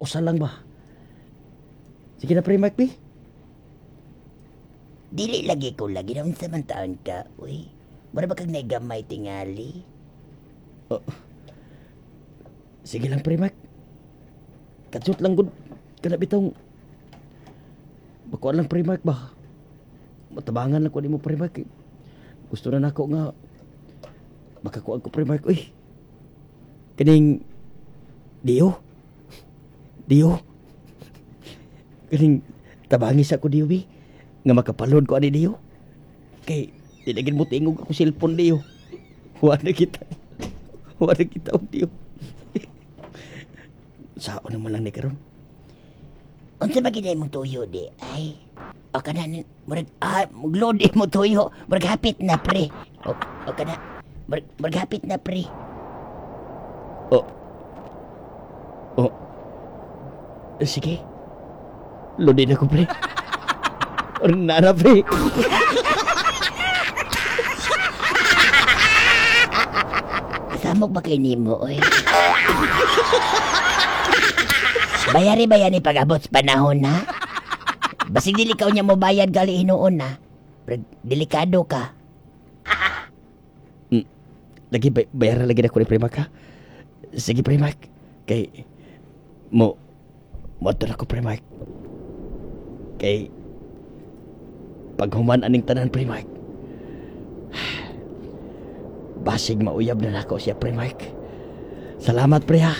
Usa lang ba? Sige na, pre Mark, bi. Dili lagi ko lagi na unsa man taon ka, uy. Mura ba kag naigamay tingali? Oh. Sige lang, pre Mark. Katsut lang gud kana bitong makuan lang, pre Mark, ba. Matabangan lang ko nimo, pre Mark. Gusto na nako nga makakuan ko, pre Mark, uy. Kaning Dio. Dio. Kaning tabangi sa ko, Dio, bi. Nga makapalod ko ani, Dio. Kay di na gid mo tingog ako cellphone, Dio. Wa na kita. Wa na kita og Dio. Sao naman lang ni karon? Unsa ba gid imong tuyo di ay? O kana murag mugload mo tuyo, murag hapit na, pre. O kana murag hapit na, pre. Oh. Oh. Sige. Lodi na ko, pre. Nara, pre. Kasamok ba kay nimo, oy? Bayari ba yan pag-abot sa panahon, ha? Basig dili ka unya mo bayad gali hinuon, ha? Pero delikado ka. Lagi bayaran lagi na ko ni pre Mark, ha? Sige, pre Mark. Kay mo mo na ko, pre Mark. Kay paghuman aning tanan, pre Mark, basig mauyab na nako siya, pre Mark. Salamat, pre, ha.